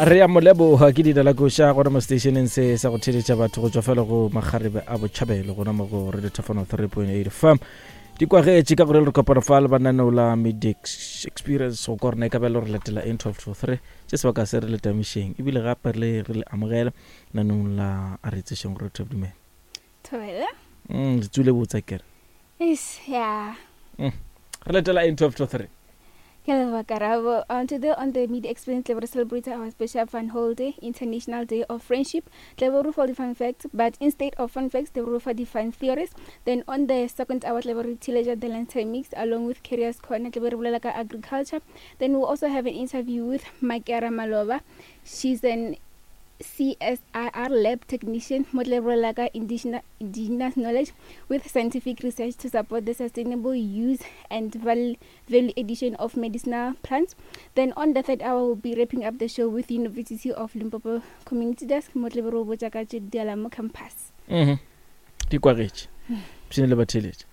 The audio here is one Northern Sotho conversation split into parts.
Re a mo leboga ke dina la koša gona mo stationeng se sa go theletša batho go tšwa fela go makgarebe a botšhabelo gona mo go Radio Thafano 3.8 FM. Di kwagetše ka gore re kopana fa le bananeo la Medex Experience go kwa rena e ka ba le re latela n 12 to 3 tše sebaka se re le tamišeng ebile gape re le amogela nanong la a re tsešeng gore re dumela. Thobela. Le tswile botsa kere. Is yeah. Re letela eng 12 to 3? Ke leboga Karabo. Today on the Media Experience, we celebrate our special fun holiday, International Day of Friendship. Tle re for the fun facts, but instead of fun facts, they for the fun theories. Then on the second hour, tle re teenager the lunchtime mix along with Careers Corner, tle re bolela ka agriculture. Then we'll also have an interview with Makera Malova. She's an CSIR lab technician mo tle bolela ka indigenous knowledge with scientific research to support the sustainable use and value addition of medicinal plants. Then on the third hour, we'll be wrapping up the show with University of Limpopo Community Desk mo tle re botša ka tše di mo campus. Di kwagetše. Pshine le batheletše.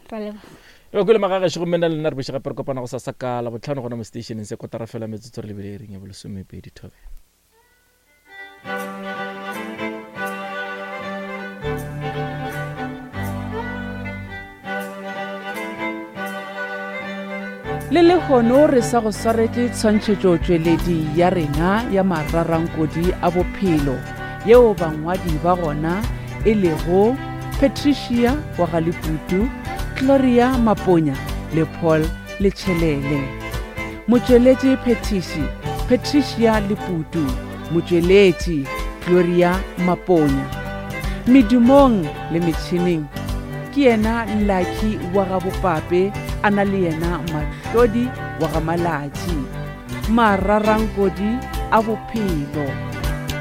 Ra leboga. Le ba kwele magagešo gomme nna le nna re boše gape re kopana go sasa ka Labohlano gona mo stationeng se kotara fela metsotso re lebile iring ya bolesomepedi thobela. Le lehono re sa go swaretše tshwantšhetšotšweledi ya rena ya mararankodi a bophelo yeo bangwadi ba gona e lego Patricia wa ga Leputu, Gloria Maponya le Paul Letšhelele. Motšweletši phethiši, Patricia Leputu, motšweletši, Gloria Maponya. Medumong le metšhineng ke yena Lucky wa ga Bopape a na le yena Mahlodi wa ga Malatši. Mararankodi a bophelo.